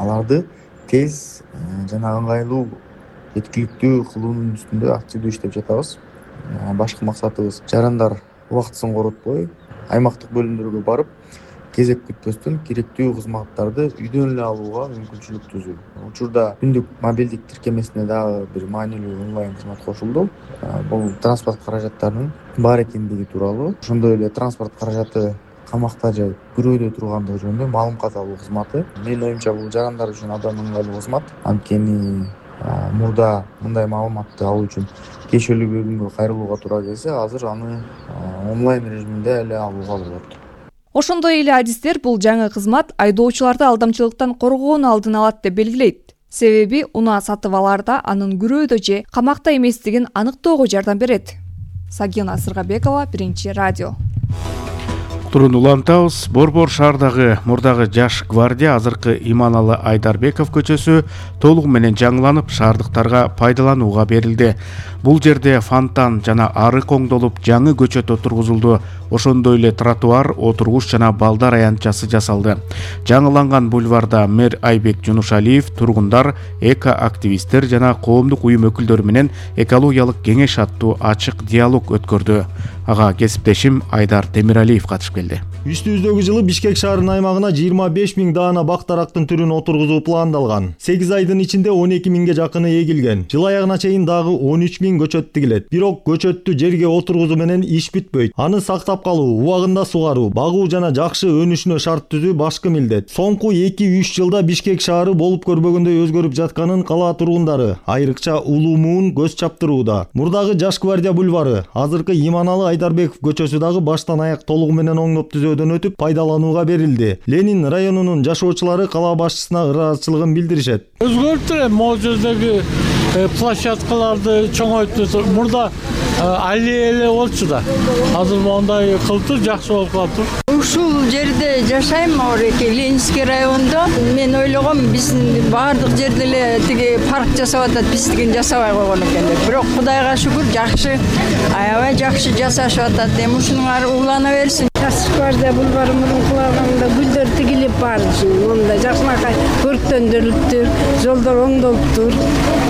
аларды тез жана ыңгайлуу жеткиликтүү кылуунун үстүндө активдүү иштеп жатабыз. Башкы максатыбыз жарандар убактысын коротпой аймактык бөлүмдөргө барып кезек күтпөстөн керектүү кызматтарды үйдөн эле алууга мүмкүнчүлүк түзүү. Учурда күндүк мобилдик тиркемесине дагы бир маанилүү онлайн кызмат кошулду. Бул транспорт каражаттарынын бар экендиги тууралуу, ошондой эле транспорт каражаты камакта же күрөөдө тургандыгы жөнүндө маалымат алуу кызматы. Менин оюмча бул жарандар үчүн абдан ыңгайлуу кызмат. Анткени мурда мындай маалыматты алуу үчүн кешелүү бөлүмгө кайрылууга туура келсе, азыр аны онлайн режиминде эле алууга болот. Ошондой эле адистер бул жаңы кызмат айдоочуларды алдамчылыктан коргоонун алдын алат деп белгилейт. Себеби унаа сатып алаарда анын күрөөдө же камакта эместигин аныктоого жардам берет. Сагина Сыргабекова, Биринчи радио. Турун улантабыз. Борбор шаардагы мурдагы Жаш гвардия азыркы Иманалы Айдарбеков көчөсү толугу менен жаңыланып, шаардыктарга пайдаланууга берилди. Бул жерде фонтан жана арык оңдолуп, жаңы көчөт отургузулду. Ошондой эле тротуар, отургуч жана балдар аянтчасы жасалды. Жаңыланган бульварда мэр Айбек Жунушалиев тургундар, эко-активисттер жана коомдук уюм өкүлдөрү менен экологиялык кеңеш аттуу ачык диалог өткөрдү. Ага кесиптешим Айдар Темиралиев катышып келди. Үстүбүздөгү жылы Бишкек шаарынын аймагына 25 000 даана бак-дарактын түрүн отургузуу пландалган. 8 айдын ичинде 12 000ге жакыны эгилген. Жыл аягына чейин дагы 13 000 көчөт тигилет. Бирок көчөттү жерге отургузуу менен иш бүтпөйт. Аны сактап калуу, убагында сугаруу, багуу жана жакшы өнүшүнө шарт түзүү башкы милдет. Соңку 2-3 жылда Бишкек шаары болуп көрбөгөндөй өзгөрүп жатканын кала тургундары, айрыкча улуумун көз чаптырууда. Мурдагы Жаш гвардия бульвары, азыркы Иманалы Айдарбеков көчөсү дагы баштан аяк толугу менен оңдоп түзөөдөн өтүп пайдаланууга берилди. Ленин районунун жашоочулары кала башчысына ыраазычылыгын билдиришет. Өзгөртүп могу жердеги площадкаларды чоңойтуп, мурда аллея эле болчу да. Азыр мондай кылтыр жакшы болуп калыптыр. Ушул жерде жашайм, Ореке, Ленинский райондо. Мен ойлогом, биздин баардык жерде эле тиги парк жасап атат, биздигин жасабай койгон экендер. Бирок Кудайга шүгүр, жакшы, аябай жакшы жасашып атат. Эми ушунун ары улана берсин. Жаш гвардия бульвары мурункулаганда гүлдөр тигилип бар. Монда жакшынакай көрктөндүрүлүптүр, жолдор оңдолуптур.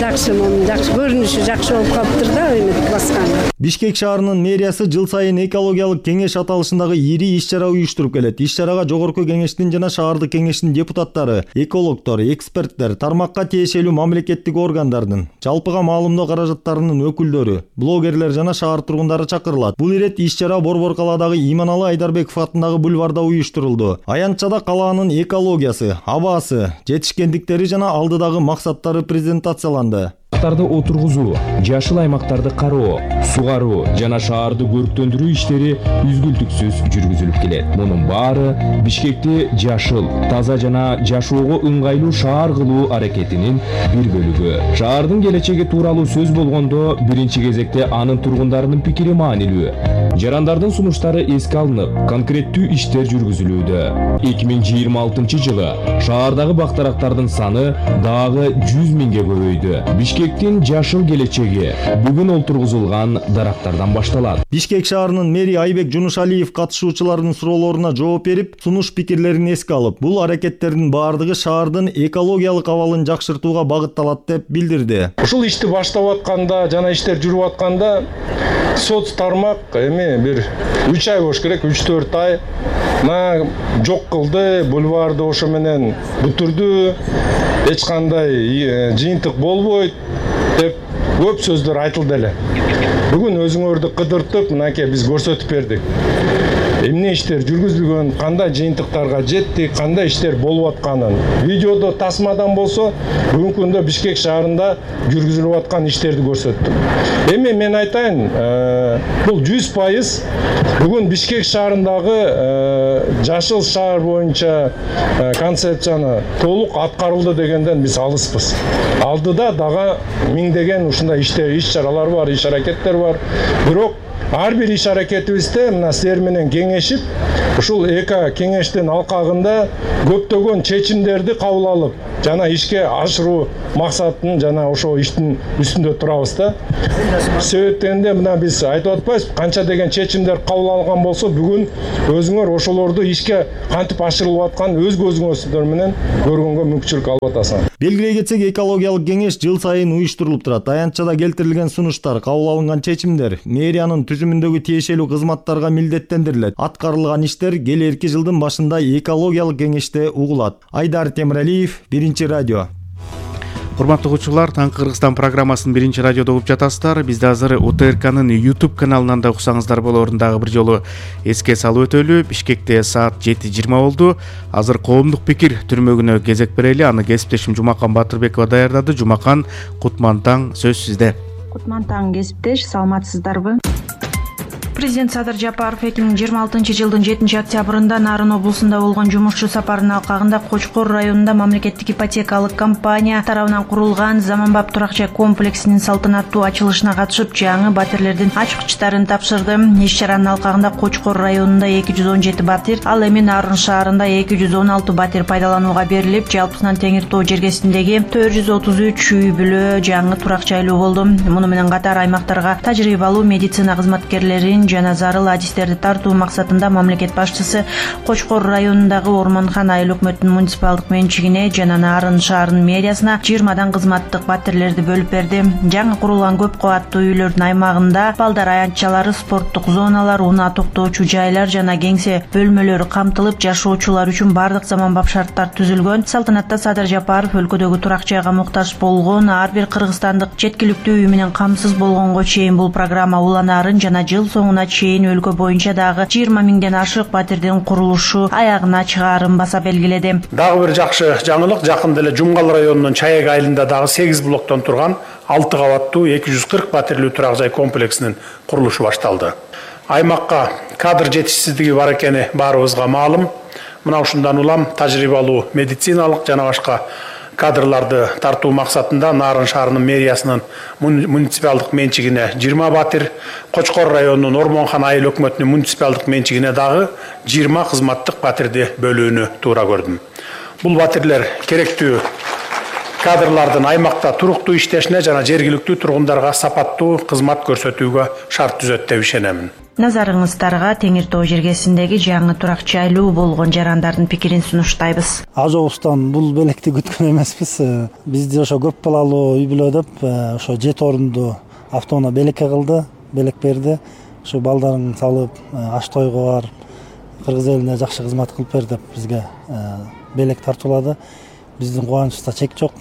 Жакшы, жакшы көрүнүшү жакшы болуп калыптыр да, эметип басканда. Бишкек шаарынын мэриясы жыл сайын экологиялык кеңеш аталышындагы ири иш-чара уюштуруп келет. Иш-чарага жогорку кеңештин жана шаардык кеңештин депутаттары, экологдор, эксперттер, тармакка тиешелүү мамлекеттик органдардын, жалпыга маалымдоо каражаттарынын өкүлдөрү, блогерлер жана шаар тургундары чакырылат. Бул ирет иш-чара Борбор калаадагы Иманалы Айдарбеков атындагы бульварда уюштурулду. Аянтчада калаанын экологиясы, абасы, жетишкендиктери жана алдыдагы максаттары презентацияланды. Отургузуу, жашыл аймактарды кароо, сугаруу жана шаарды көрктөндүрүү иштери үзгүлтүксүз жүргүзүлүп келет. Мунун баары Бишкекти жашыл, таза жана жашоого ыңгайлуу шаар кылуу аракетинин бир бөлүгү. Шаардын келечеги тууралуу сөз болгондо, биринчи кезекте анын тургундарынын пикири маанилүү. Жарандардын сунуштары эске алынып, конкреттүү иштер жүргүзүлүүдө. 2026 жылы шаардагы бак-дарактардын саны дагы 100 000ге көбөйдү. Бишкектин жашыл келечеги бүгүн олтургузулган дарактардан башталат. Бишкек шаарынын мэри Айбек Жунушалиев катышуучулардын суроолоруна жооп берип, сунуш пикирлерин эске алып, бул аракеттердин баардыгы шаардын экологиялык абалын жакшыртууга багытталат деп билдирди. Ушул ишти баштап атканда жана иштер жүрүп атканда соц тармак эми бир 3 ай болуш керек, 3-4 ай жок кылды, бульварды ошо менен бүтүрдү, эч кандай жыйынтык болбойт деп көп сөздөр айтылды эле. Бүгүн өзүңөрдү кыдыртып, мынакей биз көрсөтүп бердик. Эмне иштер жүргүзүлгөн, кандай жыйынтыктарга жеттик, кандай иштер болуп атканын. Видеодо тасмадан болсо, бүгүнкү күндө Бишкек шаарында жүргүзүлүп аткан иштерди көрсөттүм. Эми мен айтайын, бул 100% бүгүн Бишкек шаарындагы жашыл шаар боюнча концепцияны толук аткарылды дегенден биз алыспыз. Алдыда дагы миңдеген ушундай иш-чаралар бар, иш-аракеттер бар. Бирок ар бир иш-аракетибизде мына силер менен кеңешип, ушул эки кеңештин алкагында көптөгөн чечимдерди кабыл алып жана ишке ашыруу максатын жана ошол иштин үстүндө турабыз да. Себептенде мына биз айтып атпайбызбы, канча деген чечимдер кабыл алган болсо бүгүн өзүңөр ошолорду ишке кантип ашырылып аткан өз көзүңүздөр менен көргөнгө мүмкүнчүлүк алып атасыңар. Белгилей кетсек, экологиялык кеңеш жыл сайын уюштурулуп турат. Аянтчада келтирилген сунуштар, кабыл алынган чечимдер мэриянын түзүмүндөгү тиешелүү кызматтарга милдеттендирилет. Аткарылган иштер келерки жылдын башында экологиялык кеңеште угулат. Айдар Темиралиев, Биринчи радио. Урматтуу угуучулар, Таңкы Кыргызстан программасын Биринчи радиодо угуп жатасыздар. Бизди азыр УТРКнын YouTube каналынан да уксаңыздар болоорун дагы бир жолу эске салып өтөлү. Бишкекте саат 7:20 болду. Азыр коомдук пикир түрмөгүнө кезек берели. Аны кесиптешим Жумакан Батырбекова даярдады. Жумакан, кутман таң, сөз сизде. Кутман таң, кесиптеш, саламатсыздарбы? Президент Садыр Жапаров 2026 жылдын 7 октябрында Нарын облусунда болгон жумушчу сапарынын алкагында Кочкор районунда мамлекеттик ипотекалык компания тарабынан курулган заманбап турак жай комплексинин салтанаттуу ачылышына катышып, жаңы батирлердин ачкычтарын тапшырды. Иш-чаранын алкагында Кочкор районунда 217 батир, ал эми Нарын шаарында 216 батир пайдаланууга берилип, жалпысынан Теңир Тоо жергесиндеги 433 үй бүлө жаңы турак жайлуу болду. Муну менен катар аймактарга тажрыйбалуу медицина кызматкерлерин жана зарыл адистерди тартуу максатында мамлекет башчысы Кочкор районундагы Ормонхан айыл өкмөтүнүн муниципалдык менчигине жана Нарын шаарынын мэриясына 20 кызматтык батирлерди бөлүп берди. Жаңы курулган көп кабаттуу үйлөрдүн аймагында балдар аянтчалары, спорттук зоналар, унаа токтоочу жайлар жана кеңсе бөлмөлөрү камтылып, жашоочулар үчүн бардык заманбап шарттар түзүлгөн. Салтанатта Садыр Жапаров өлкөдөгү турак жайга муктаж болгон ар бир кыргызстандык жеткиликтүү үй менен камсыз болгонго чейин бул программа уланаарын жана жыл соңуна чейин өлкө боюнча дагы 20 миңден ашык батирдин курулушу аягына чыгаарын баса белгиледи. Дагы бир жакшы жаңылык, жакында эле Жумгал районунун Чаек айылында дагы 8 блоктон турган 6 кабаттуу 240 батирлүү турак жай комплексинин курулушу башталды. Аймакка кадр жетишсиздиги бар экени баарыбызга маалым. Мына ушундан улам тажрыйбалуу медициналык жана башка кадрларды тартуу максатында Нарын шаарынын мэриясынын муниципалдык менчигине 20 батир, Кочкор районунун Ормонхан айыл өкмөтүнүн муниципалдык менчигине дагы 20 кызматтык батирди бөлүүнү туура көрдүм. Бул батирлер керектүү кадрлардын аймакта туруктуу иштешине жана жергиликтүү тургундарга сапаттуу кызмат көрсөтүүгө шарт түзөт деп ишенемин. Назарыңыздарга Теңир Тоо жергесиндеги жаңы турак жайлуу болгон жарандардын пикирин сунуштайбыз. Ажобустан бул белекти күткөн эмеспиз. Бизди ошо көп балалуу үй бүлө деп ошо 7 орунду автоунаа белекке кылды, белек берди. Ошо балдарын салып аш тойго бар, кыргыз элине жакшы кызмат кылып бер деп бизге белек тартуулады. Биздин кубанычыбызда чек жок.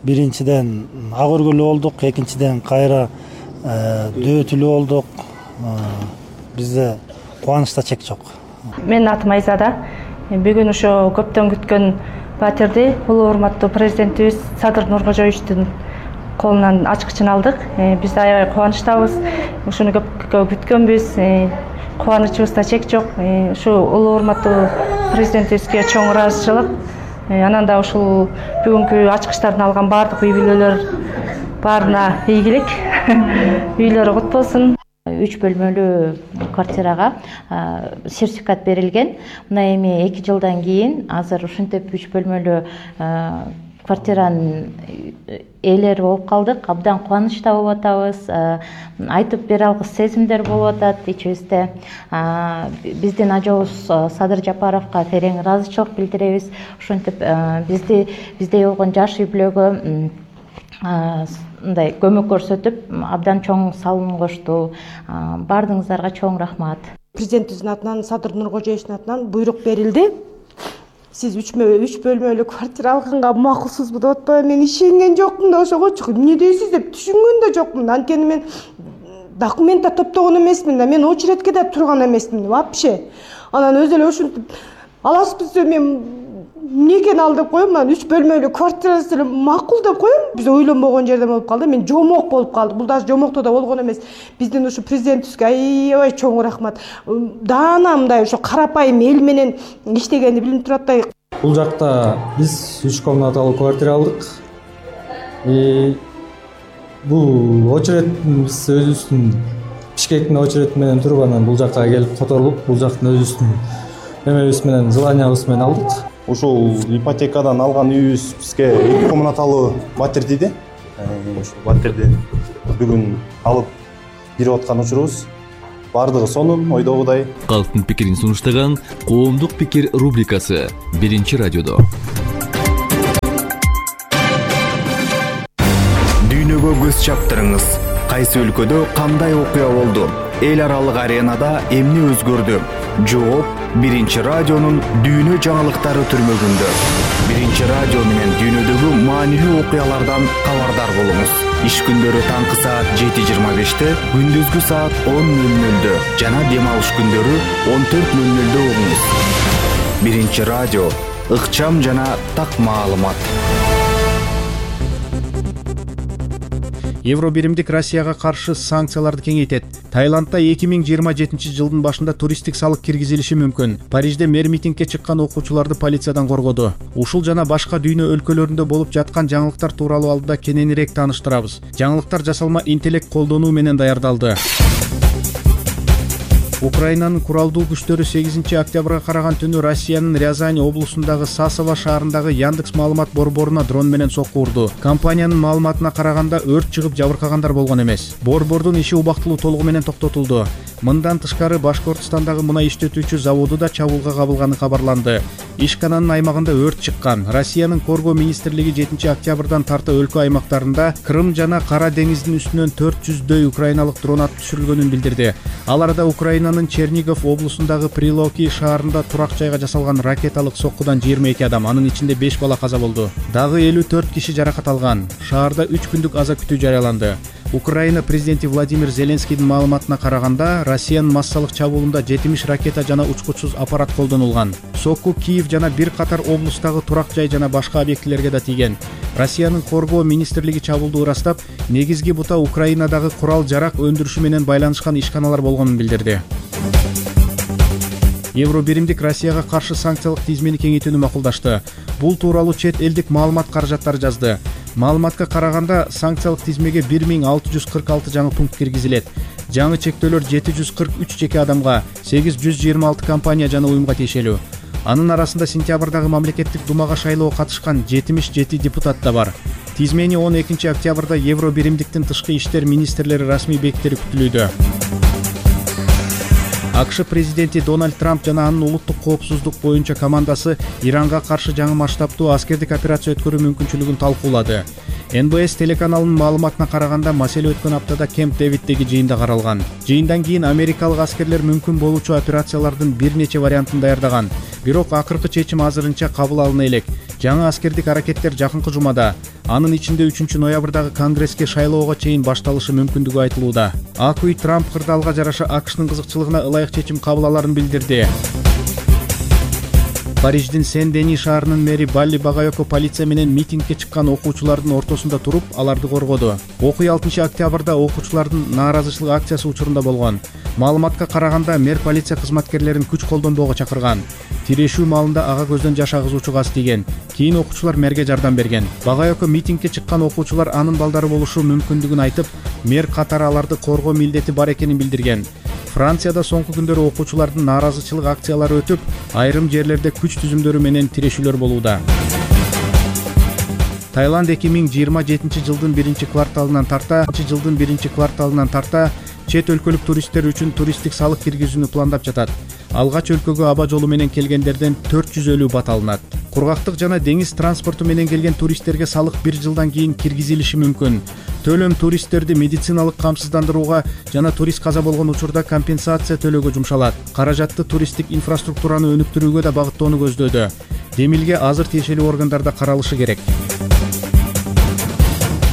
Биринчиден ак өргөлүү болдук, экинчиден кайра дөөтүлүү болдук. Бизде кубанычта чек жок. Менин атым Айзада. Бүгүн ошо көптөн күткөн батирди улуу урматтуу президентибиз Садыр Нуркожоевичтин колунан ачкычын алдык. Биз аябай кубанычтабыз. Ушуну көп күткөнбүз. Кубанычыбызда чек жок. Ушу улуу урматтуу президентибизге чоң ыраазычылык. Анан да ушул бүгүнкү ачкычтарды алган бардык үй бүлөлөр баарына ийгилик. Үйлөрү кут болсун. 3 бөлмөлүү квартирага сертификат берилген. Мына эми 2 жылдан кийин азыр ушинтип 3 бөлмөлүү квартиранын ээлери болуп калдык. Абдан кубанычта болуп атабыз. Айтып бере алгыс сезимдер болуп атат ичибизде. Биздин ажообуз Садыр Жапаровго терең ыраазычылык билдиребиз. Ушинтип бизде болгон жаш үй бүлөгө мындай көмөк көрсөтүп, абдан чоң салым кошту. Бардыгыңыздарга чоң рахмат. Президентибиздин атынан, Садыр Нуркожоевичтин атынан буйрук берилди. Сиз 3 бөлмөлүү квартира алганга макулсузбу деп атпайбы? Мен ишенген жокмун да ошогочу. Эмне дейсиз деп түшүнгөн да жокмун. Анткени мен документ да топтогон эмесмин да, мен очередке да турган эмесмин вообще. Анан өзү эле ушинтип аласызбыз деп мен эмнекен ал деп коем, анан 3 бөлмөлүү квартирасы эле макул деп коем. Биз ойлонбогон жерден болуп калды. Мен жомок болуп калды. Бул даже жомокто да болгон эмес. Биздин ушу президентибизге аябай чоң рахмат. Даана мындай ошо карапайым эл менен иштегенди билип турат да. Бул жакта биз 3 комнаталуу квартира алдык. Бул очередибиз өзүбүздүн Бишкектин очерети менен туруп анан бул жакка келип которулуп, бул жактын өзүбүздүн эмебиз менен, желаниябыз менен алдык. Ушул ипотекадан алган үйүбүз бизге 2 комнаталуу батир тийди. Ошол батирди бүгүн алып берип аткан учурубуз. Бардыгы сонун, ойдогудай. Калктын пикирин сунуштаган Коомдук пикир рубрикасы Биринчи радиодо. Дүйнөгө көз чаптырыңыз. Кайсы өлкөдө кандай окуя болду? Эл аралык аренада эмне өзгөрдү? Жооп Биринчи радионун дүйнө жаңылыктары түрмөгүндө. Биринчи радио менен дүйнөдөгү маанилүү окуялардан кабардар болуңуз. Иш күндөрү таңкы саат 7:25-те, күндүзгү саат 10:00-дө жана дем алыш күндөрү 14:00-дө угуңуз. Биринчи радио ыкчам жана так маалымат. Евробиримдик Россияга каршы санкцияларды кеңейтет. Таиландда 2027 жылдын башында туристтик салык киргизилиши мүмкүн. Парижде мэр митингге чыккан окуучуларды полициядан коргоду. Ушул жана башка дүйнө өлкөлөрүндө болуп жаткан жаңылыктар тууралуу алдыда кененирээк тааныштырабыз. Жаңылыктар жасалма интеллект колдонуу менен даярдалды. Украинанын куралдуу күчтөрү 8 октябрга караган түнү Россиянын Рязань облусундагы Сасово шаарындагы Яндекс маалымат борборуна дрон менен сокку урду. Компаниянын маалыматына караганда өрт чыгып жабыркагандар болгон эмес. Борбордун иши убактылуу толугу менен токтотулду. Мындан тышкары Башкортостандагы мунай иштетүүчү заводу да чабуулга кабылганы кабарланды. Ишкананын аймагында өрт чыккан. Россиянын Коргоо министрлиги 7 октябрдан тарта өлкө аймактарында Крым жана Кара деңиздин үстүнөн 400дөй украиналык дрон атып түшүрүлгөнүн билдирди. Аларда Украинанын Чернигов облусундагы Прилоки шаарында турак жайга жасалган ракеталык соккудан 22 адам, анын ичинде 5 бала каза болду. Дагы 54 киши жаракат алган. Шаарда 3 күндүк аза күтүү жарыяланды. Украина президенти Владимир Зеленскийдин маалыматына караганда, Россиянын массалык чабуулунда 70 ракета жана учкучсуз аппарат колдонулган. Сокку Киев жана бир катар облустагы турак жай жана башка объектилерге да тийген. Россиянын Коргоо министрлиги чабуулду ырастап, негизги бута Украинадагы курал жарак өндүрүшү менен байланышкан ишканалар болгонун билдирди. Евробиримдик Россияга каршы санкциялык тизмени кеңейтүүнү макулдашты. Бул тууралуу чет элдик маалымат каражаттары жазды. Маалыматка караганда, санкциялык тизмеге 1646 жаңы пункт киргизилет. Жаңы чектөөлөр 743 жеке адамга, 826 компания жана уюмга тиешелүү. Анын арасында сентябрдагы мамлекеттик думага шайлоого катышкан 77 депутат да бар. Тизмени 12 октябрда Евробиримдиктин тышкы иштер министрлери расмий бекитери күтүлүүдө. АКШ президенти Дональд Трамп жана анын улуттук коопсуздук боюнча командасы Иранга каршы жаңы масштабтуу аскердик операция өткөрүү мүмкүнчүлүгүн талкуулады. НБС телеканалынын маалыматына караганда, маселе өткөн аптада Кемп Дэвиддеги жыйында каралган. Жыйындан кийин америкалык аскерлер мүмкүн болуучу операциялардын бир нече вариантын даярдаган. Бирок акыркы чечим азырынча кабыл алына элек. Жаңы аскердик аракеттер жакынкы жумада, анын ичинде 3 ноябрдагы Конгресске шайлоого чейин башталышы мүмкүндүгү айтылууда. Ак үй Трамп кырдаалга жараша АКШнын кызыкчылыгына ылайык чечим кабыл аларын билдирди. Париждин Сен-Дени шаарынын мэри Балли Багайоко полиция менен митингге чыккан окуучулардын ортосунда туруп, аларды коргоду. Окуя 6 октябрда окуучулардын нааразычылык акциясы учурунда болгон. Маалыматка караганда, мэр полиция кызматкерлерин күч колдонбоого чакырган. Тирешүү маалында ага көздөн жаш агызуучу газ тийген. Кийин окуучулар мэрге жардам берген. Багайоко митингге чыккан окуучулар анын балдары болушу мүмкүндүгүн айтып, мэр катары аларды коргоо милдети бар экенин билдирген. Францияда соңку күндөрү окуучулардын нааразычылык акциялары өтүп, айрым жерлерде күч түзүмдөрү менен тирешүүлөр болууда. Таиланд 2027 жылдын 1-кварталынан тарта чет өлкөлүк туристтер үчүн туристтик салык киргизүүнү пландап жатат. Алгач өлкөгө аба жолу менен келгендерден 450 бат алынат. Кургактык жана деңиз транспорту менен келген туристтерге салык 1 жылдан кийин киргизилиши мүмкүн. Төлөм туристтерди медициналык камсыздандырууга жана турист каза болгон учурда компенсация төлөөгө жумшалат. Каражатты туристтик инфраструктураны өнүктүрүүгө да багыттоону көздөөдө. Демилге азыр тиешелүү органдарда каралышы керек.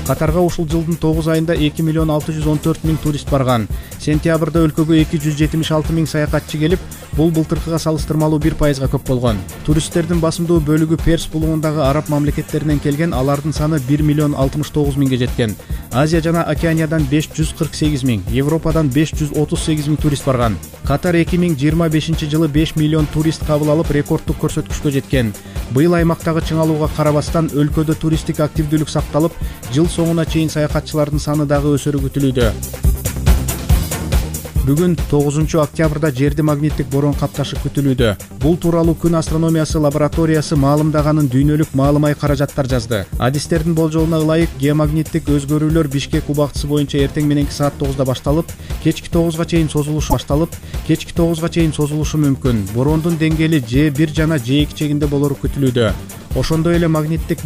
Катарга ушул жылдын 9 айында 2,614,000 турист барган. Сентябрда өлкөгө 276,000 саякатчы келип, бул былтыркыга салыштырмалуу 1%га көп болгон. Туристтердин басымдуу бөлүгү Перс булугундагы араб мамлекеттеринен келген, алардын саны 1,069,000 жеткен. Азия жана Океаниядан 548,000, Европадан 538,000 турист барган. Катар 2025 жылы 5 миллион турист кабыл алып, рекордтук көрсөткүчкө жеткен. Быйыл аймактагы чыңалууга карабастан өлкөдө туристтик активдүүлүк сакталып, жыл соңуна чейин саякатчылардын саны дагы өсөрү күтүлүүдө. Бүгүн 9 октябрда жерди магниттик борон капташы күтүлүүдө. Бул тууралуу күн астрономиясы лабораториясы маалымдаганын дүйнөлүк маалымай каражаттар жазды. Адистердин болжолуна ылайык геомагниттик өзгөрүүлөр Бишкек убактысы боюнча эртең мененки саат 9-да башталып, кечки 9-га чейин созулушу мүмкүн. Борондун деңгээли Ж1 жана Ж2 чегинде болору күтүлүүдө. Ошондой эле магниттик